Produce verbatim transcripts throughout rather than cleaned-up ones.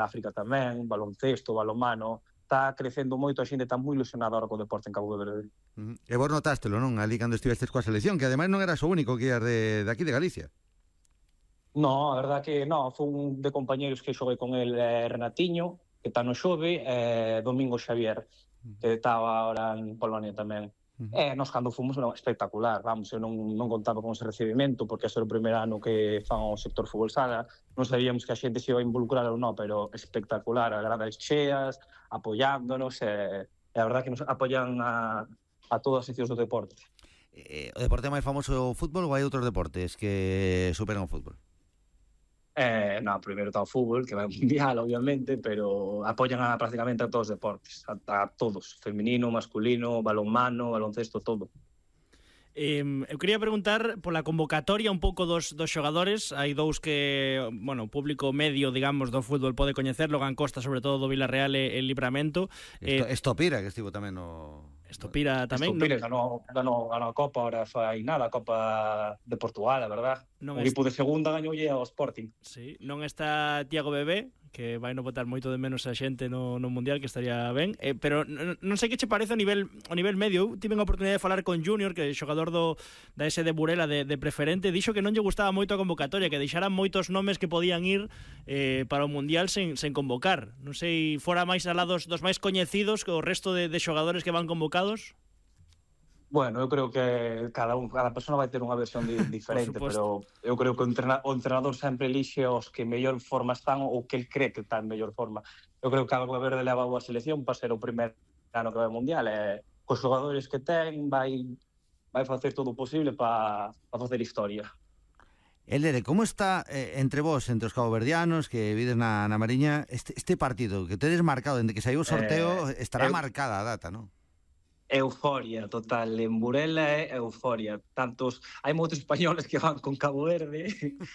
África tamén, baloncesto, balonmano. Está crecendo moito, a xente está moi ilusionada ahora co deporte en Cabo Verde. Uh-huh. E vos notástelo, non? Ali cando estivestes coa selección, que ademais non eras o único que ias de, de aquí de Galicia. No, a verdad que non, foi un de compañeros que xoguei con el, eh, Renatiño, que está no Xove, e eh, Domingo Xavier, que estaba ahora en Polonia tamén. Uh-huh. E nos cando fomos era espectacular, vamos, eu non, non contaba con ese recibimento porque ese era o primeiro ano que fan o sector fútbol sala, non sabíamos que a xente se iba a involucrar ou non, pero espectacular, a gradas cheas, apoiándonos, e, e a verdad que nos apoian a, a todas as seccións do deporte. Eh, o deporte máis famoso é o fútbol ou hai outros deportes que superan o fútbol? Eh, no, primeiro está o fútbol, que vai ao mundial, obviamente, pero apoian a prácticamente a todos os deportes, a, a todos, feminino, masculino, balonmano, baloncesto, todo. Eh, eu quería preguntar pola convocatoria un pouco dos, dos xogadores. Hai dous que, bueno, o público medio, digamos, do fútbol pode coñecer, Logan Costa, sobre todo do Villarreal e el Livramento. Esto, eh, Estopira, que estivo tamén no... Estopira tamén. Estopira, no? ganou, ganou a Copa, ahora fai nada, a Copa de Portugal, a verdad. Non o equipo est... de segunda gañoulle ao Sporting. Sí, non está Tiago Bebé, que vai no botar moito de menos a xente no, no Mundial, que estaría ben, eh, pero non, non sei que che parece a nivel, a nivel medio. Eu tive a oportunidade de falar con Junior, que é xogador do, da S de Burela de, de preferente, dixo que non lle gustaba moito a convocatoria, que deixaran moitos nomes que podían ir eh, para o Mundial sen, sen convocar. Non sei, fora máis alá dos, dos máis coñecidos que o resto de, de xogadores que van convocados. Bueno, eu creo que cada un, cada persona vai ter unha versión di, diferente, pero eu creo que o, entrena, o entrenador sempre elixe os que mellor forma están ou que el cree que está en mellor forma. Eu creo que Cabo Verde leva a selección para ser o primer ano que vai ao Mundial, e cos xogadores que ten vai, vai facer todo o posible para pa facer historia. Elere, como está eh, entre vos, entre os caboverdianos que vides na, na Mariña, este, este partido que tedes marcado, dende que saiu o sorteo, eh, estará eu... marcada a data, non? Euforia total, en Burela é euforia. Tantos, hai moitos españoles que van con Cabo Verde,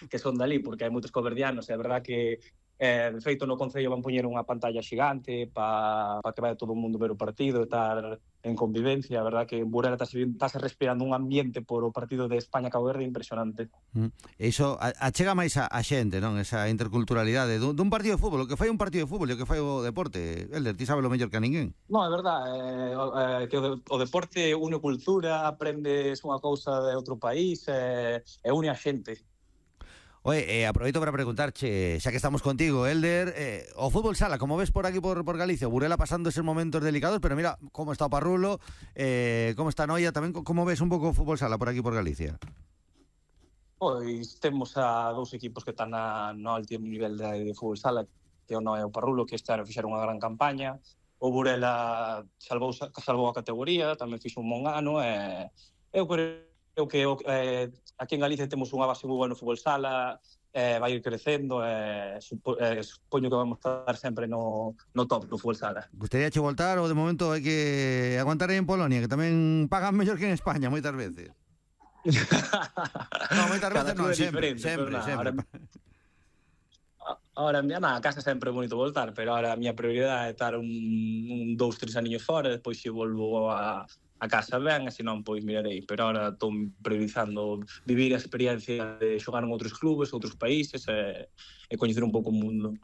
que son dali, porque hai moitos caboverdianos, é verdad que eh, de feito no Concello van poñer unha pantalla xigante para pa que vaya todo o mundo ver o partido e estar en convivencia. A verdad que en Burela está respirando un ambiente por o partido de España-Cabo Verde impresionante. Mm. Iso achega máis a, a xente, non? Esa interculturalidade dun, dun partido de fútbol, o que fai un partido de fútbol e o que fai o deporte. Elder, ti sabes lo mellor que a ninguén. Non, é verdad, eh, eh, que o, o deporte une cultura, aprendes unha cousa de outro país e eh, une a xente. Oye, eh, aproveito para preguntarche, xa que estamos contigo, Elder, eh, o fútbol sala, como ves por aquí, por, por Galicia, Burela pasando esos momentos delicados, pero mira como está o Parrulo, eh, como está Noia, tamén como ves un pouco o fútbol sala por aquí por Galicia? Pois temos a dous equipos que están na, no alto nivel de, de fútbol sala, que o Noia e o Parrulo, que este ano fixeron unha gran campaña. O Burela salvou, salvou a categoría, tamén fixo un bon ano, e eu creo Eu que eh, aquí en Galicia temos unha base moi boa no fútbol sala, eh, vai ir crecendo, e eh, supo, eh, supoño que vamos estar sempre no, no top do fútbol sala. Gustaría che voltar ou de momento hai que aguantar aí en Polonia, que tamén pagan mellor que en España moitas veces? No, moitas veces non, sempre, sempre, sempre. Ahora, na casa sempre é bonito voltar, pero ahora a miña prioridade é estar un, un dous, tres aniños fora, depois se volvo a a casa ben, e se non, pois mirarei. Pero ahora estou priorizando vivir a experiencia de xogar en outros clubes, outros países, e, e coñecer un pouco o mundo.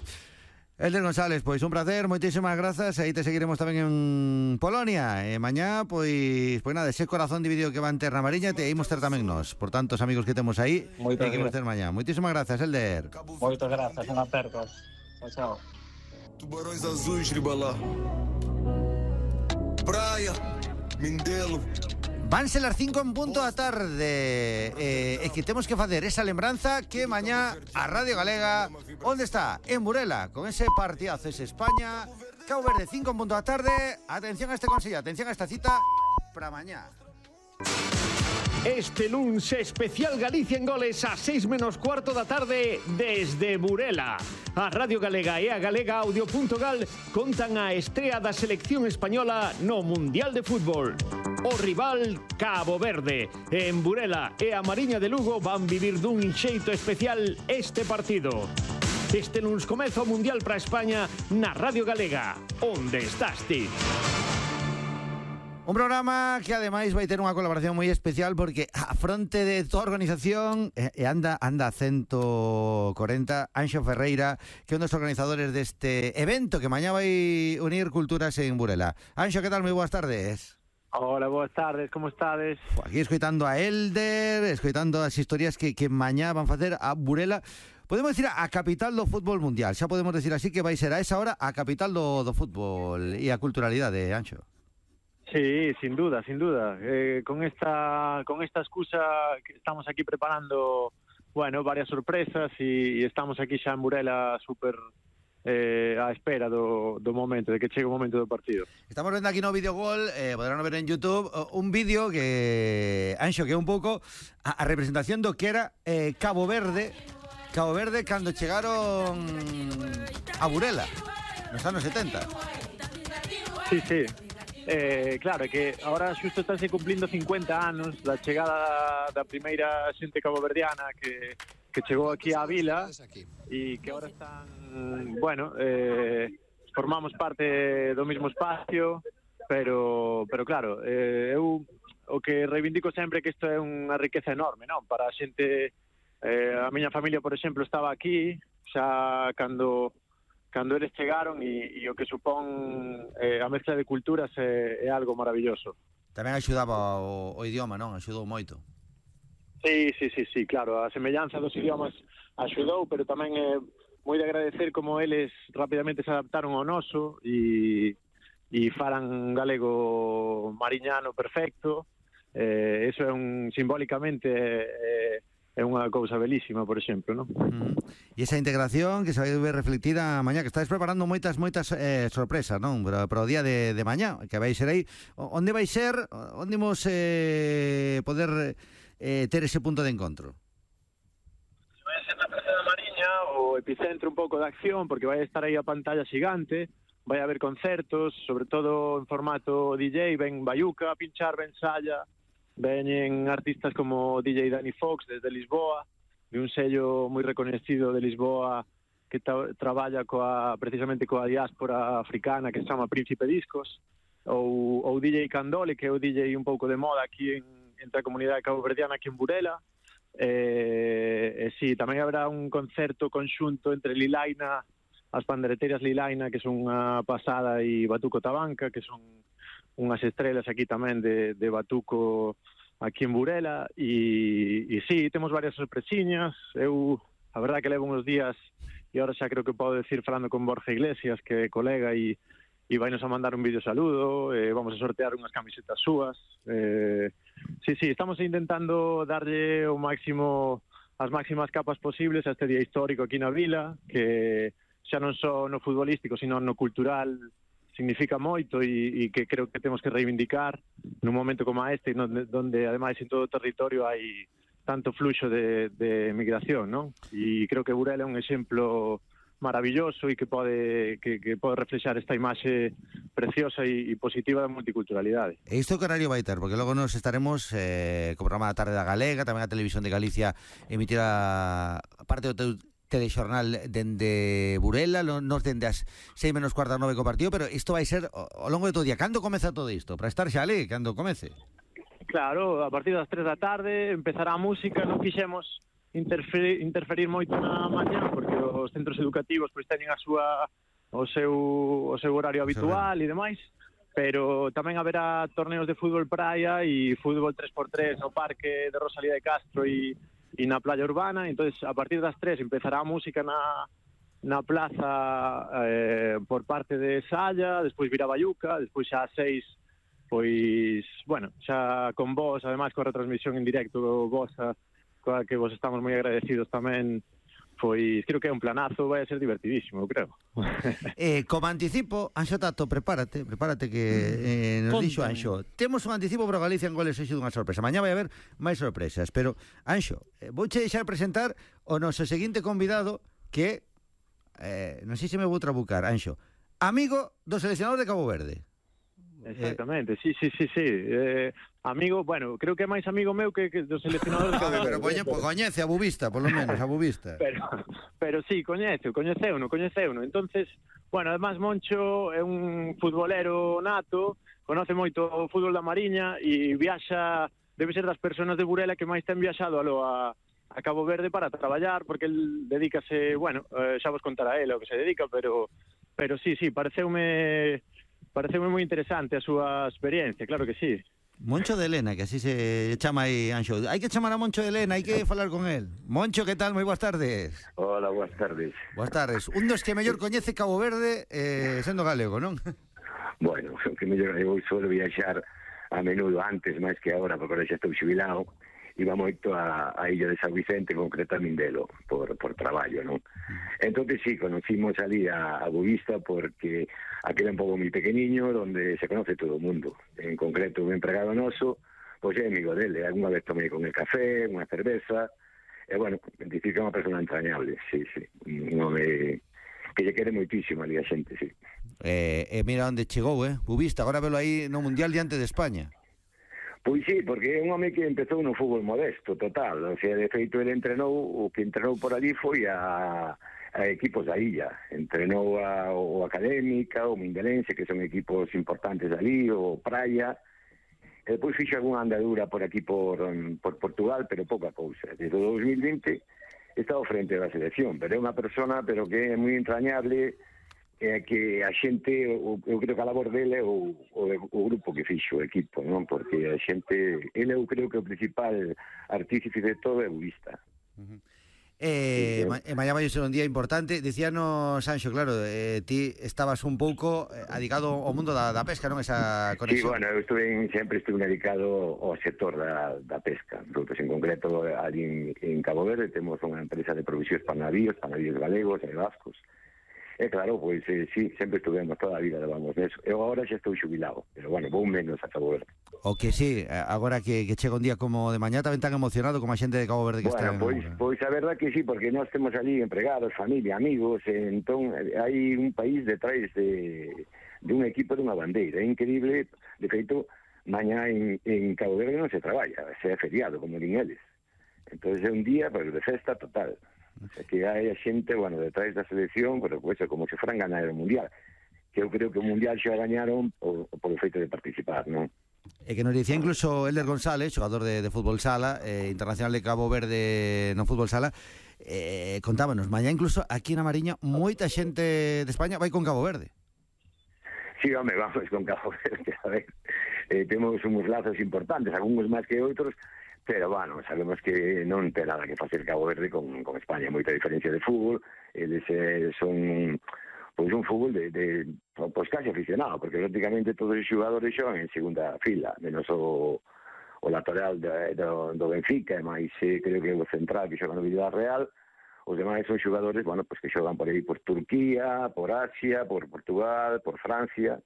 Elder González, pois un placer, moitísimas grazas, e aí te seguiremos tamén en Polonia, e mañá, pois, pois nada, ese corazón dividido que va en Terra Mariña, te imos ter tamén nós, por tantos amigos que temos aí, e que imos ter mañá. Moitísimas grazas, Elder. Moitas grazas, un aperto. Chao, chao. Tubarões azuis, ribalá. Praia. Mindelo. Vanse las cinco en punto da tarde, eh, e que temos que facer esa lembranza que mañá a Radio Galega, onde está? En Burela, con ese partidazo, ese España Cabo Verde, cinco en punto da tarde. Atención a este consello, atención a esta cita para mañá. Este luns especial Galicia en goles a seis menos cuarto da tarde desde Burela. A Radio Galega e a Galega Audio punto gal contan a estrea da selección española no Mundial de Fútbol. O rival Cabo Verde. En Burela e a Mariña de Lugo van vivir dun xeito especial este partido. Este luns comeza o Mundial para España na Radio Galega. Onde estás ti? Un programa que ademais vai ter unha colaboración moi especial porque a fronte de toda a organización eh, anda anda a ciento corenta Anxo Ferreira, que é un dos organizadores deste evento que mañá vai unir culturas en Burela. Anxo, que tal? Moi boas tardes. Hola, boas tardes, como estades? Aquí escoitando a Elder, escoitando as historias que, que mañá van facer a Burela. Podemos decir a capital do fútbol mundial, xa podemos decir así que vai ser a esa hora a capital do, do fútbol e a culturalidade, Anxo. Sí, sin duda, sin duda. Eh, con esta con esta excusa que estamos aquí preparando, bueno, varias sorpresas e, e estamos aquí xa en Burela super eh, á espera do, do momento, de que chegue o momento do partido. Estamos vendo aquí no videogol, eh, poderán ver en YouTube, un vídeo que, Anxo, que é un pouco a, a representación do que era eh, Cabo Verde, Cabo Verde cando chegaron a Burela, nos anos setenta. Sí, sí. Eh, claro, é que agora xusto estáse cumplindo cincuenta anos da chegada da primeira xente caboverdiana que, que chegou aquí á vila e que agora están, bueno, eh, formamos parte do mesmo espacio, pero, pero claro, eh, eu o que reivindico sempre é que isto é unha riqueza enorme, non? Para a xente, eh, a miña familia, por exemplo, estaba aquí xa cando... cando eles chegaron e, e o que supón eh, a mezcla de culturas é, é algo maravilloso. Tamén axudaba o, o idioma, non? Axudou moito. Sí, sí, sí, sí, claro, a semellanza dos idiomas axudou, pero tamén é moi de agradecer como eles rapidamente se adaptaron ao noso e, e falan galego mariñano perfecto. Eh, eso é un simbólicamente eh, é unha cousa belísima, por exemplo, non? Mm. E esa integración que se vai ver reflectida mañá, que estáis preparando moitas moitas eh, sorpresas, non? Pero, pero o día de, de mañá, que vai ser aí, onde vai ser, onde imos eh, poder eh, ter ese punto de encontro? Vai ser na Praza da Mariña, o epicentro un pouco de acción, porque vai estar aí a pantalla xigante, vai haber concertos, sobre todo en formato D J, ven Bayuca a pinchar, ven Saya, veñen artistas como D J Danny Fox desde Lisboa, de un sello moi reconhecido de Lisboa que tra traballa coa, precisamente coa diáspora africana que se chama Príncipe Discos, ou, ou D J Candole, que é o D J un pouco de moda aquí en, entre a comunidade caboverdiana aquí en Burela. E, e sí, tamén habrá un concerto conxunto entre Lilaina, as pandereteiras Lilaina, que son unha pasada, e Batuco Tabanca, que son unhas estrelas aquí tamén de, de Batuco aquí en Burela, e, e sí, temos varias sorpresiñas. Eu, a verdade que levo uns días e agora xa creo que podo decir falando con Borja Iglesias, que é colega, e, e vai nos a mandar un vídeo saludo, e vamos a sortear unhas camisetas súas. Eh, sí, sí, estamos intentando darlle o máximo, as máximas capas posibles a este día histórico aquí na vila, que xa non só no futbolístico, sino no cultural significa moito e, e que creo que temos que reivindicar nun momento como este, donde, donde ademais en todo o territorio hai tanto fluxo de, de migración, non? E creo que Burela é un exemplo maravilloso e que pode que, que pode reflexar esta imaxe preciosa e, e positiva da multiculturalidade. E isto que horario vai ter? Porque logo nos estaremos eh, co programa da tarde da Galega, tamén a Televisión de Galicia emitirá parte do teu telexornal dende Burela, nos dende as seis menos cuarta nove co partido, pero isto vai ser ao longo de todo o día. Cando comeza todo isto? Para estar xa ali, cando comece? Claro, a partir das tres da tarde empezará a música, non quixemos interferir, interferir moito na mañá, porque os centros educativos pois teñen a súa o seu o seu horario habitual e demais, pero tamén haberá torneos de fútbol praia e fútbol tres por tres no parque de Rosalía de Castro e e na playa urbana. Entonces a partir das tres empezará a música na, na plaza eh, por parte de Saya, despois virá Bayuca, despois xa ás seis, pois, bueno, xa con vos, ademais coa retransmisión en directo vosa, coa que vos estamos moi agradecidos tamén, pois creo que é un planazo, vai a ser divertidísimo, creo. Eh, como anticipo, Anxo Tato, prepárate, prepárate que eh, nos dixo Anxo. Temos un anticipo para Galicia en goles hoxe dunha sorpresa. Mañá vai haber máis sorpresas, pero Anxo, eh, vouche deixar presentar o noso seguinte convidado que eh, non sei se me vou trabucar, Anxo, amigo do seleccionador de Cabo Verde. Exactamente, sí, sí, sí, sí. Eh, amigo, bueno, creo que é máis amigo meu que, que do seleccionador de Ah, Cabo pero Verde. poñe, pues, coñece a Bubista, por lo menos, a Bubista. Pero, pero sí, coñece, coñeceuno, coñeceuno. Entonces, bueno, además Moncho é un futbolero nato, conoce moito o fútbol da Mariña e viaxa, debe ser das persoas de Burela que máis ten viaxado alo a, a Cabo Verde para traballar, porque el dedícase, bueno, eh, xa vos contará ele o que se dedica, pero pero sí, sí, pareceume pareceume moi interesante a súa experiencia, claro que sí. Moncho de Elena, que así se chama aí, Anxo. Hai que chamar a Moncho de Elena, hai que falar con el. Moncho, que tal? Moi boas tardes. Hola, boas tardes. Boas tardes. Un dos que mellor coñece Cabo Verde eh, sendo galego, non? Bueno, que mellor eu suelo viaxar a menudo antes, máis que agora, porque agora xa estou xubilado. Iba moito a, a Illa de San Vicente, concreta a Mindelo, por, por traballo, non? Entón, sí, conocimos ali a, a Bubista porque aquel é un pouco moi pequeniño, donde se conoce todo o mundo. En concreto, un empregado noso, pois é amigo dele. Alguna vez tomei con el café, unha cerveza, e, bueno, dicir que é unha persona entrañable, sí, sí. Un home que lle quere moitísimo ali a xente, sí. Eh, eh, mira onde chegou, eh? Bubista, agora velo aí no Mundial diante de España. Pois sí, porque é un home que empezou no fútbol modesto, total. O sea, de feito, ele entrenou, o que entrenou por ali foi a, a equipos da illa. Entrenou a, o Académica, o Mindelense, que son equipos importantes ali, o Praia. E depois fixo algunha andadura por aquí por, por Portugal, pero pouca cousa. Desde o dos mil vinte está ao frente da selección, pero é unha persona pero que é moi entrañable, é que a xente, eu, eu creo que a labor dele é o, o, o grupo que fixo o equipo, non? Porque a xente, ele eu creo que o principal artífice de todo é o Bubista. Uh-huh. Eh, ma, eh, mañá vai ser un día importante. Dicíanos, Sanxo, claro, eh, ti estabas un pouco eh, adicado ao mundo da, da pesca, non? Esa conexión. Sí, bueno, eu estuve en, sempre estuve dedicado ao sector da, da pesca. Nosotros, en concreto, ali en, en Cabo Verde temos unha empresa de provisións para navíos, para navíos galegos e vascos. E claro, pois eh, sí, sempre estuvemos toda a vida, levamos neso. Eu agora xa estou xubilado, pero bueno, vou menos a Cabo Verde. O que sí, agora que, que chega un día como de mañá tamén tan emocionado como a xente de Cabo Verde que bueno, está... Bueno, pois, pois a verdad que sí, porque nós temos ali empregados, familia, amigos, e entón hai un país detrás de, de un equipo de unha bandeira. É increíble, de feito, mañá en, en Cabo Verde non se traballa, se é feriado, como din eles. Entón é un día pero de festa total. O sea, que hai a xente, bueno, detrás da selección, pero pues, como se fueran ganar o Mundial. Que eu creo que o Mundial xa gañaron por, por o feito de participar, non? E que nos dicía incluso Elder González, xogador de, de fútbol sala, eh, internacional de Cabo Verde no fútbol sala, eh, contábanos, mañá incluso aquí na Mariña moita xente de España vai con Cabo Verde. Sí, home, vamos con Cabo Verde, a ver, eh, temos uns lazos importantes, algúns máis que outros, pero, bueno, sabemos que non ten nada que facer Cabo Verde con, con España, moita diferencia de fútbol, eles eh, son, pois, un fútbol de, de pois, casi aficionado, porque prácticamente todos os xogadores xogan en segunda fila, menos o, o lateral de, do, do Benfica, e máis, eh, creo que o central que xoga no Villarreal, os demais son xogadores, bueno, pois que xogan por aí por Turquía, por Asia, por Portugal, por Francia,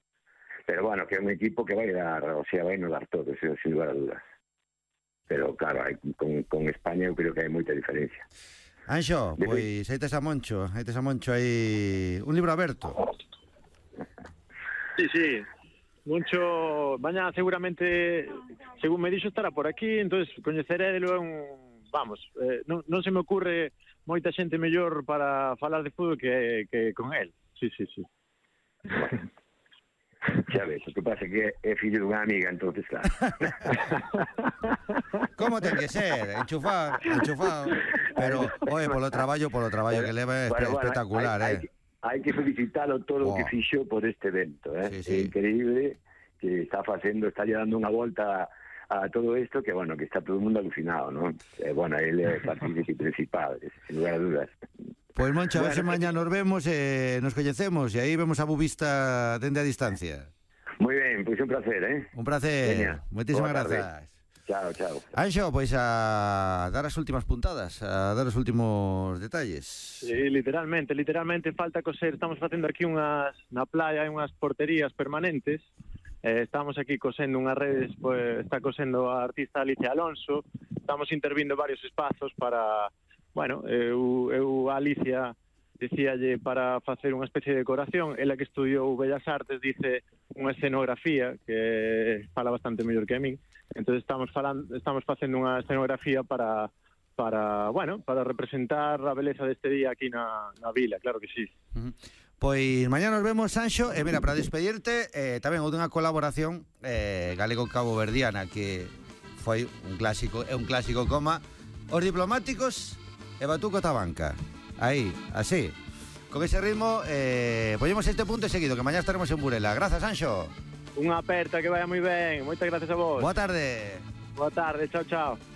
pero, bueno, que é un equipo que vai dar, o sea, vai no dar todo, sin, sin lugar a dudas. Pero, claro, hai, con, con España eu creo que hai moita diferencia. Anxo, pois aí tes a Moncho, aí tes a Moncho, aí un libro aberto. Sí, sí. Moncho, mañá seguramente, según me dixo, estará por aquí, entonces coñecerédelo, é un, vamos, eh, non, non se me ocurre moita xente mellor para falar de fútbol que, que con él. Sí, sí, sí. Bueno. Xa ves, o que pasa é que é fillo dunha amiga, entonces claro. Como ten que ser? Enchufado, enchufado. Pero, oye, polo traballo, polo traballo que leva é bueno, bueno, espectacular, hay, eh. Hai, hai que felicitalo todo o oh. que fixo por este evento, eh. Sí, sí. É increíble que está facendo, está lle dando unha volta a, a todo isto que, bueno, que está todo o mundo alucinado, ¿no? Eh, bueno, ele é partícipe principal, sin lugar a dudas. Pois, Moncho, a ver se mañá nos vemos e eh, nos coñecemos e aí vemos a Bubista dende a distancia. Moi ben, pois un placer, eh? Un placer. Moitísimas grazas. Chao, chao. Anxo, pois a dar as últimas puntadas, a dar os últimos detalles. Sí, literalmente, literalmente falta coser, estamos facendo aquí unhas, na playa hai unhas porterías permanentes, eh, estamos aquí cosendo unhas redes, pues, está cosendo a artista Alicia Alonso, estamos intervindo varios espazos para... Bueno, eu, eu a Alicia dicíalle para facer unha especie de decoración. Ela que estudiou Bellas Artes dice unha escenografía que fala bastante mellor que a min. Entonces estamos falando, estamos facendo unha escenografía para para, bueno, para representar a beleza deste día aquí na, na vila, claro que sí. Uh-huh. Pois mañá nos vemos, Sanxo, e mira, para despedirte, eh, tamén outra colaboración eh, galego-cabo-verdiana que foi un clásico, é un clásico coma Os Diplomáticos e Batuco Tabanca. Aí, así. Con ese ritmo, eh, ponemos este punto seguido, que mañá estaremos en Burela. Grazas, Sanxo. Unha aperta, que vaya moi ben. Moitas gracias a vos. Boa tarde. Boa tarde, chao, chao.